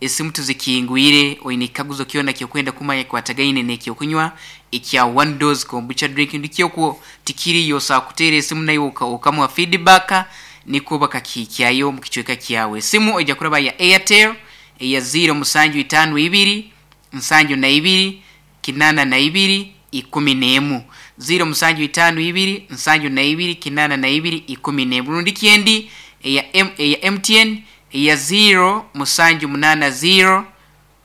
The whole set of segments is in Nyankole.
Esimu tuzikingwire, oine ekikaguzo kyona ky'okwenda kumanya ekikwatagaine n'ekyokunywa ekya One Dose Kombucha Drink ndikyo okwo tikiriyo, osobola kuteera esimu naiwe okamuha feedback nikwo bakakihikyayo omu kicweka kyawe. Esimu oija kuraba ya Airtel eya ziiro musanju itaano ibiri, nsanju na ibiri, kinaana na ibiri, ikumi n'emu. Ziiro musanju itaano ibiri, nsanju na ibiri, kinaana na ibiri, ikumi n'emu. Rundi ki endi eya M, eya MTN eya ziiro musanju munaana ziiro,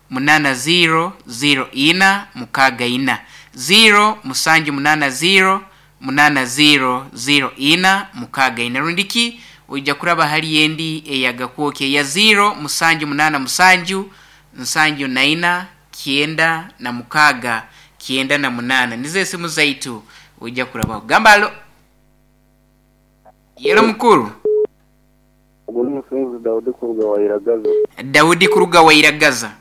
munaana ziiro, ziiro ina, mukaaga ina. Ziiro musanju munaana ziiro, munaana ziiro, ziiro ina, mukaaga ina. Rundi ki oija kuraba hali endi eya Gakwokya eya ziiro musanju munaana musanju, nsanju na ina, 96, 98 nizo esimu zaitu oija kurabaho. Gamba alo. Yelo mukuru. Ogu ni Musinguzi Daudi kuruga Wairagaza. Daudi kuruga Wairagaza.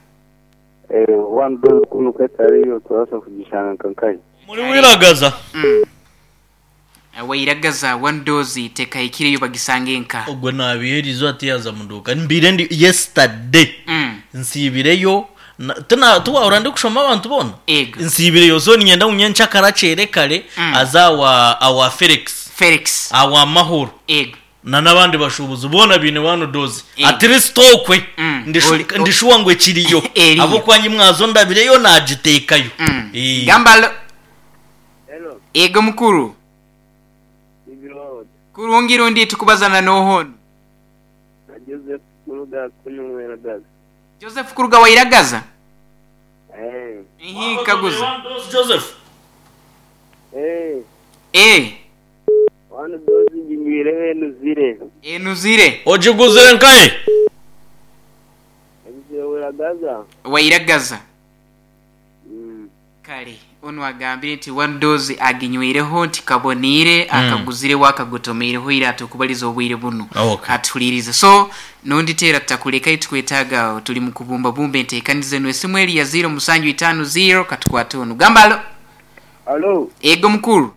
Eh, one dose kunu ku etariyo turabaasa kugishanga nka nkahi? Muri Wiragaza. Wairagaza one dose tekahikireyo bagisange nka. Ogwo naabiha eriizooba tiyaaza mu duuka. Mbaire ndi yesterday nsiibireyo na- tina- tiwaahurira ndikushoma abantu boona? Ego. Nsiibireyo so niinyenda ngu nyencakare akyere kare aze awa awa Felix Felix. awa Mahoro Ego. na n'abandi bashuubuzi boona baine one dose. Ego. At least okwe ndishu- Ori- o- ndishuwa ngu ekiriyo. Eriyo. Ahabw'okuba nyi mwazo ndabireyo naagiteekayo. Eh. Gamba alo. Hello, Ego mukuru. Ibirod. Kurungi rundi tukubazana n'oha onu? Na Joseph kuruga kunu Wairagaza. Joseph kuruga Wairagaza? Eh. Ihi nkaguza. Joseph. Eh. Eh. One dose nginywireho enuzire. Enuzire. Ogiguzire nkahe? Enuzire Wairagaza. Wairagaza. Kare onu agambire nti one dose aginyweireho nti kaboniire akaguzireho akagotomeireho ira ati okubaliza obwire bunu Okay. atuhulirize so nondi teera tutakuleka itukwetaaga tuli mu kubumbabumba enteekaniza enu esimu eri ya ziiro musanju itaano ziiro katukwate onu gamba alo Alo, ego mukuru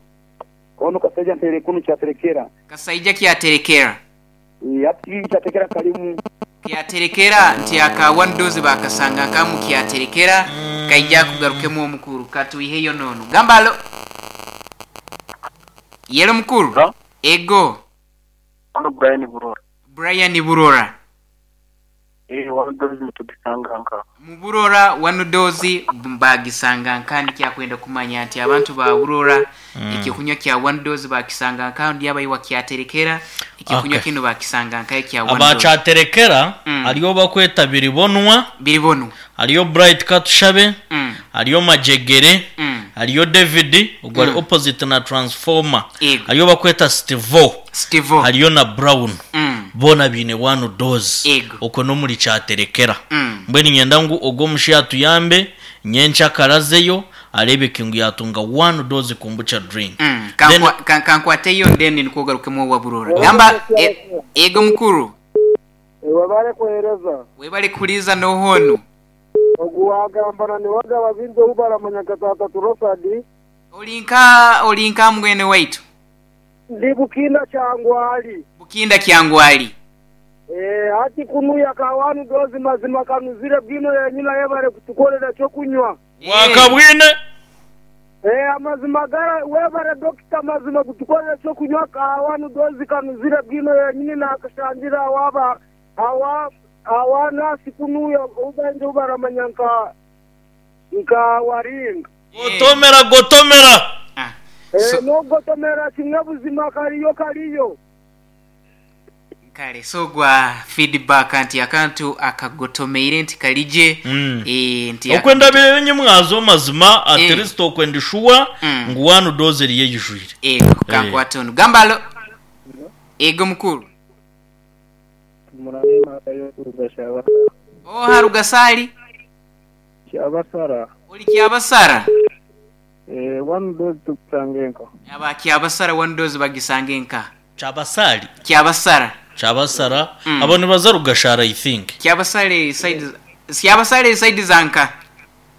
ono Kasaija nteire kunu Kyaterekera. Kasaija Kyaterekera. Eeh hati Kyaterekera kalimu. Kyaterekera nti aka one dose bakasanga nkamu Kyaterekera kaija akugarukemu omukuru katwiheyo nono. Gamba alo. Yelo mukuru. Hello? Ego. Ono Brian Burora. Brian Burora. Eeh one dose nitugisanga nka. Mu Burora one dose bagisanga nka nikyakwenda kumanya nti abantu ba Burora ekyokunywa kya one dose bakisanga nka ndi abaiwa Kyaterekera ekyokunywa Okay. kinu bakisanga nka ekya one Aba dose. Kyaterekera hariyo bakweta Biribonwa, Biribonwa. hariyo Bright Katushabe, hariyo Majegere, hariyo David ogwo ari opposite na Transformer, Ego. hariyo bakweta Stevo, Stevo. hariyo na Brown. Boona baine one dose. Ego. Okwo n'omuri Kyaterekera. Mbwenu niinyenda ngu ogwo omushaija atuyambe nyencakare azeyo areebeke ngu yaatunga one dose kombucha drink. Then Kankwateyo then nikwo ogarukemu owa Burora. Gamba ego mukuru. Webale kuhereza. Webale kuhuriiriza n'oha onu? Ogu waagamba na niwe agaba bingi ou baramanya nka Taata Turosadi. Ori nka ori nka mwene waitu? Ndi Bukinda Kyangwali. Bukinda Kyangwali. Eeh hati kunuya ka one dose mazima kanuzire bwino yenyine ayebare kutukorera ekyokunywa. Wakabwine. Eeh amazima gara webare Dokita mazima kutukorera ekyokunywa ka one dose kanuzire bwino yenyine nakashangira awa awa awa nurse kunuya ou baingi ou baramanya nka nka Waringa. Gotomera gotomera. Eeh nogotomera kimwe buzima kariyo kariyo. Kale so gwa feedback nti akantu akagotomeire nti karigye eh, nti Okwenda bireyo nyimwazo mazima at least okwenda shuwa ngu one dose eriyo eyijwire. Ego kankwate onu. Gamba alo. Ego mukuru. Oha Rugasali? Kyabasara. Ori Kyabasara? Eh, one dose tukusange nka. Aba Kyabasara one dose bagisange nka. Kyabasali? Kyabasara. Kyabasara. Abo nibaza Rugashara I think. Kyabasale side Kyabasale side za nka.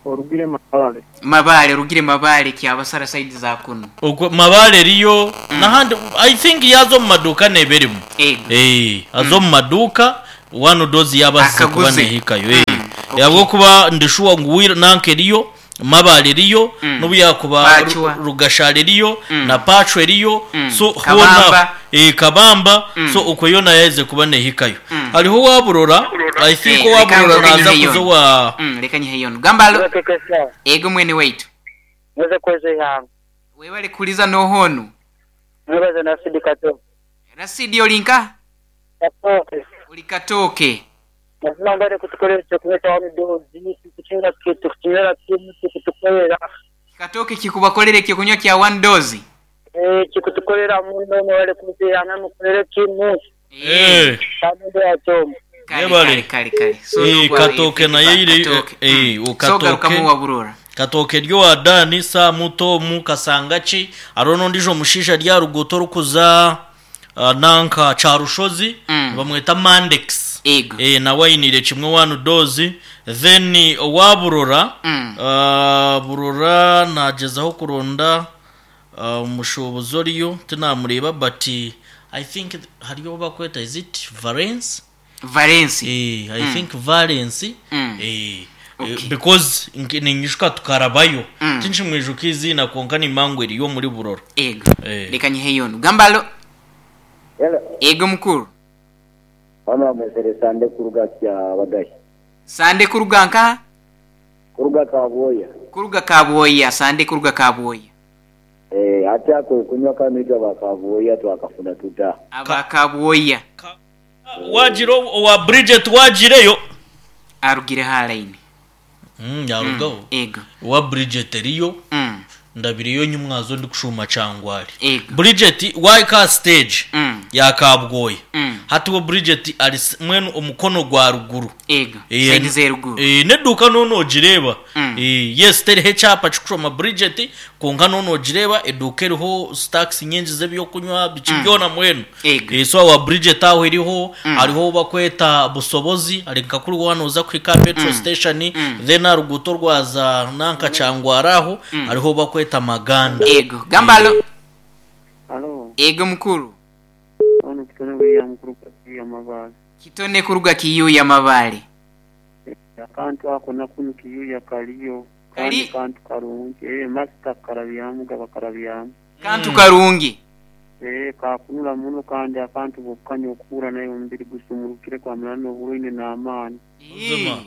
Orugire Mabale. Mabale, orugire Mabale Kyabasara side za kunu. Okwo Mabale eriyo nahandi I think yaaza omu maduuka neeba erimu. Ego. Eh, aza omu maduuka one dose yaaba azize kuba Akaguze. neehikayo. Eh. Okay. Ahabw'okuba ndi shuwa ngu Wira nanka eriyo, Mabale eriyo, n'obu yaakuba Pacwa. Rugashara eriyo, na Pacwa eriyo, so Kabamba. hoona Kabamba, so okwo yoona yaaherize kuba neehikayo. Hariho owa Burora, I think Eh, owa reka Burora nsoke naaza nyiheyo kuza onu. owa Reka nyiheyo onu. Gamba alo. Mwekekesa, Ego mwene waitu. mweze kweza ihanga. Webale kuhuriza n'oha onu? Mwebaze Rasidi Katooke. Rasidi ori nkaha? Katooke. Ori Katooke. Mazima mbare kutukorera ekyokunywa kya one dose, tukukinywera tukukinywera kimwe kikutukorera. Katooke kikubakorera ekyokunywa kya one dose? Eh, kikutukorera muno mwebale kutuhana mukorere kimwe. Eh. Kandi yakyomu. Kare Yebale. kare kare kare. So Eh, nogwa eh, Katooke nayo feedback eri Katooke. eh, So Katooke. garukamu wa Burora. Katooke eri owa Dani, Samu, Tomu, Kasangaki, hariho n'ondiijo mushaija ari aha ruguuto orikuza nanka Kyarushozi, nibamweta Mandex. Ego. Eh, nawe ainiire kimwe one dose. Then owa Burora, Burora naagyezaho kuronda omushuubuzi oriyo, tinamureeba but I think hariyo ou barikweta is it Valence? Valence. Eh, I think Valence. Eh, Okay. because ninyijuka tukarabayo. Tinshimwijuka eiziina kwonka nimanya ngu eriyo omuri Burora. Ego. Eh. Reka nyiheyo onu. Gamba alo. Hello. Ego mukuru. Mama mwesere Sande kuruga kya Bagayi. Sande kuruga nkaha? Kuruga Kabwoya. Kuruga Kabwoya, Sande kuruga Kabwoya. Eh, ate ako kunywa kanu ba Kabwoya twakafuna tuta. Aba Kabwoya. Wagira owa Bridget wagireyo. Arugire ha line. Yarugaho. Ego. Owa Bridget eriyo. Ndabireyo nyimwazo ndikushuuma Kyangwali. Ego. Bridget waika stage ya Kabwoya. Hati we Bridget ari mwenu omukono gwa ruguru. Ego. Side z'eruguru. N'eduuka noona ogireeba. Yes, teriho ekyapa kikushoma Bridget, kwonka noona ogireeba eduuka eriho stacks nyingi z'ebyokunywa biki byona mwenu. Ego. So awa Bridget aho eriho, hariho ou bakweta Busobozi, ari nka kuri waaba nooza kuhika aha petrol station, then aha ruguuto orwaza nanka Kyangwari aho, hariho ou bakweta Maganda. Ego. Gamba alo. Alo. Ego mukuru. Ono Kitone William kuruga Kiyuya Mabale. Kitone kuruga Kiyuya Mabale. Akantu ako nakunu Kiyuya kariyo. Kari? Kandi kantu karungi. Master karabyamu gaba karabyamu. Kantu karungi. Kakunura muno kandi akantu bukanya okukura nayo omubiri gusumurukire kwamara n'oburwaire n'amaani. Buzima.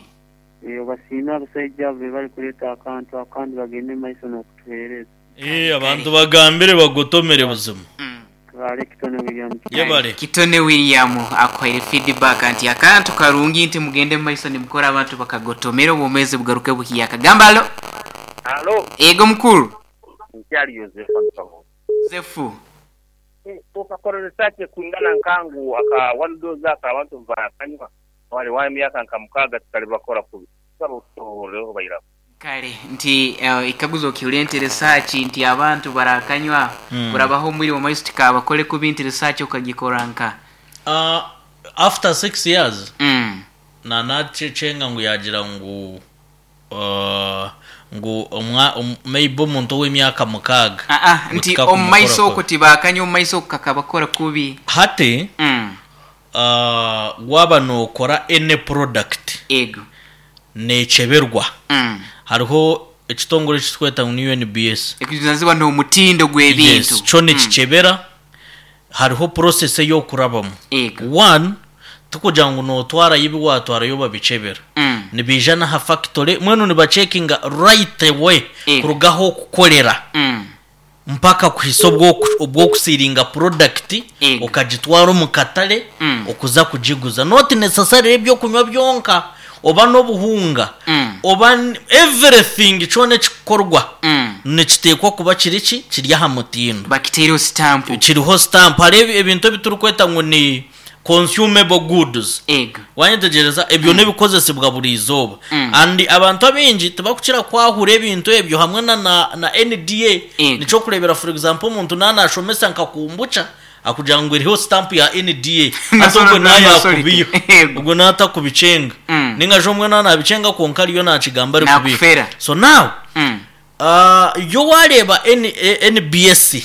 Obasiime abasaija abo bari kureeta akantu ako kandi bagende omu maiso n'okutuheereza. Abantu bagambire bagotomere buzima. Tware Kitone William. Yebare. Kitone William akuhaire feedback nti akantu karungi nti mugende mu maiso nimukora abantu bakagotomera obwomeezi bugaruke buhiyaka. Gamba alo. Alo. Ego mukuru. Nkyari Yosefu Nkabo. Yosefu. Tukakora research kwingana nkangu aka one dose aka abantu bakanywa wali wa emyaka nka mukaga tutali bakora kubi. Tusaba otusoboreho bairaho. Kare nti ekaguzo okihurire nti research nti abantu barakanywa kurabaho omwire omu maiso tikabakore kubi nti research okagikora nka After 6 years na nakyenga ngu yagira ngu ngu omwa maybe omuntu ow'emyaka mukaaga Ah, ngu nti tikakumukora omu maiso kubi. okwo tibakanywa omu maiso okwo kakabakora kubi. Hati waaba nookora any product Ego. neekyeberwa. Hariho ekitongore eki turikweta ngu ni UNBS. Ekujunanizibwa n'omutindo gw'ebintu. Yes, kyo nikikyebera. Hariho process ei orikurabamu. Ego. One, tikugira ngu nootwarayo ebi waatwarayo babikyebera. Nibaija n'aha factory, mbwenu nibacekinga right away Ego. kuruga ahu orikukorera mpaka kuhitsya obu orikusiiringa product Ego. okagitwara omu katare okuza kugiguza. Not necessarily ebyokunywa byonka oba n'obuhunga oba everything kyona ekikukorwa nikiteekwa kuba kiri ki? Kiri aha mutindo. Bakiteireho sitampu. Kiriho sitampu. Hariho ebintu ebi turikweta ngu ni consumable goods. Ego. Wanyetegyereza? Ebyo n'ebikozesibwa buri izooba. And abantu abaingi tibakukira kwahura ebintu ebyo hamwe na na NDA. Ego. Nikyo kureebera for example omuntu naaba nashomesa nka kombucha akugira ngu eriho sitampu ya NDA. Hati ogwo naaba yakubiyo. Ogwo naaba atakubikyenga. Ninga shi omwe naaba nabikyenga kwonka ariyo nakigamba arikubiika. Nakufera. So now, Yo waareeba NBS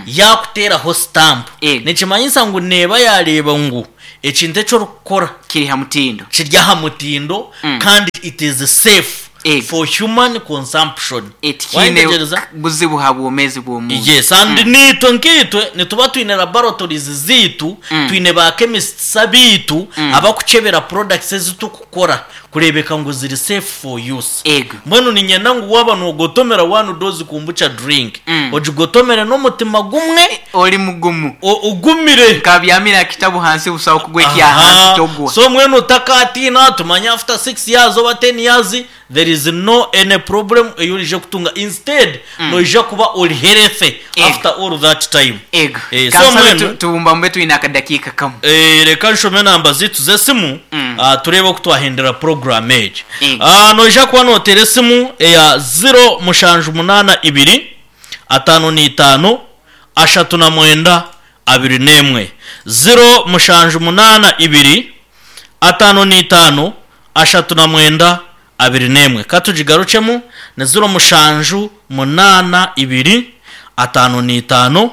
yaakuteeraho sitampu, nikimanyisa ngu neeba yaareeba ngu ekintu eki orikukora Kiri ha mutindo. kiri aha mutindo kandi it is safe for human consumption. Tikiine Waayetegyereza? buzibu ha bwomeezi bw'omuntu. Yes, and naitwe nkaitwe nituba twine laboratories zaitu, twine ba chemists abaitu abakukyebera products ezi turikukora kureebeka ngu ziri safe for use. Ego. Mbwenu niinyenda ngu waaba noogotomera one dose kombucha drink, ogigotomere n'omutima gumwe. Ori mugumu. Ogumire. Nkabyamire aha kitabu hansi busaho kugwa ekya hansi togwa. So mbwenu otakaatiina, tumanye after 6 years oba 10 years there is no any problem ei orije kutunga instead noija kuba ori healthy after all that time. Ego. Eh, so Kansabe mbwenu tubumbabumbe twine akadakiika kamwe. Eh, reka nshome enamba zaitu z'esimu tureebe oku twahendera program egi. Ego. Noija kuba noteera esimu eya 0782 55 39 21. 0782 55 39 21. Ka tugigarukyemu, ni 0782 55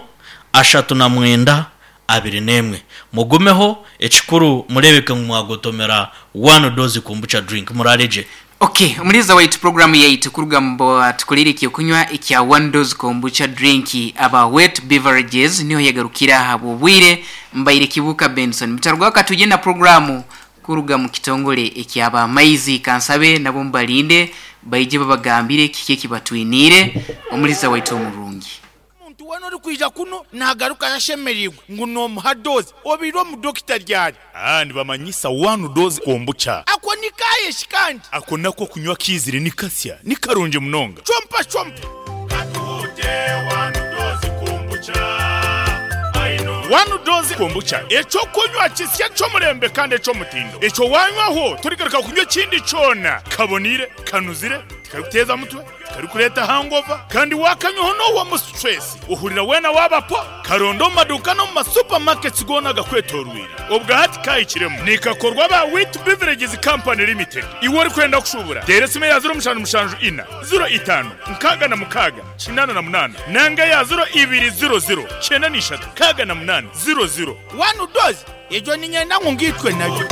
39 21. Mugumeho, ekikuru mureebeke ngu mwagotomera one dose kombucha drink. Muraare gye. Ok, omuhuriza waitu puroguramu yaitu kuruga omu batukoreire eky'okunywa ekya One Dose Kombucha Drink aba Wet Beverages niho yagarukira ahabw'obwire. Mbaire Kibuuka Benson. Mutarugaho katwije na puroguramu kuruga omu kitongore ekya ba Maizi. Kansabe nabo mubarinde baije babagambire kiki eki batwiniire. Omuhuriza waitu omurungi. Omuntu weena orikwija kunu naagarukayo ashemereirwe ngu noomuha doozi. Obaire omu dokita ryari? Aa nibamanyisa one dose kombucha. Ako ni kaaye shi kandi? Ako nako okunywa kaizire ni kasya, ni karungi munonga. Chompa chompa. Katuhute one dose kombucha aino. One dose kombucha eky'okunywa kisya eky'omurembe kandi eky'omutindo. Ekyo wanywaho torigaruka kunywa ekindi kyona. Kaboniire, kanuzire, tikarikuteeza mutwe. Tikarikureeta hangover kandi waakanywaho noohwamu stress ohurira weena waaba po. Karonde omu maduuka n'omu ma supermarkets goona agakwetooroire. Obwa hati kaahikiremu. Nikakorwa aba Wheat Beverages Company Limited. Iwe orikwenda kushuubura, teera esimu eya 0774 05 66 88 nanga eya 0200 93 00. One dose, egyo niinyenda ngu ngaitwe nayo.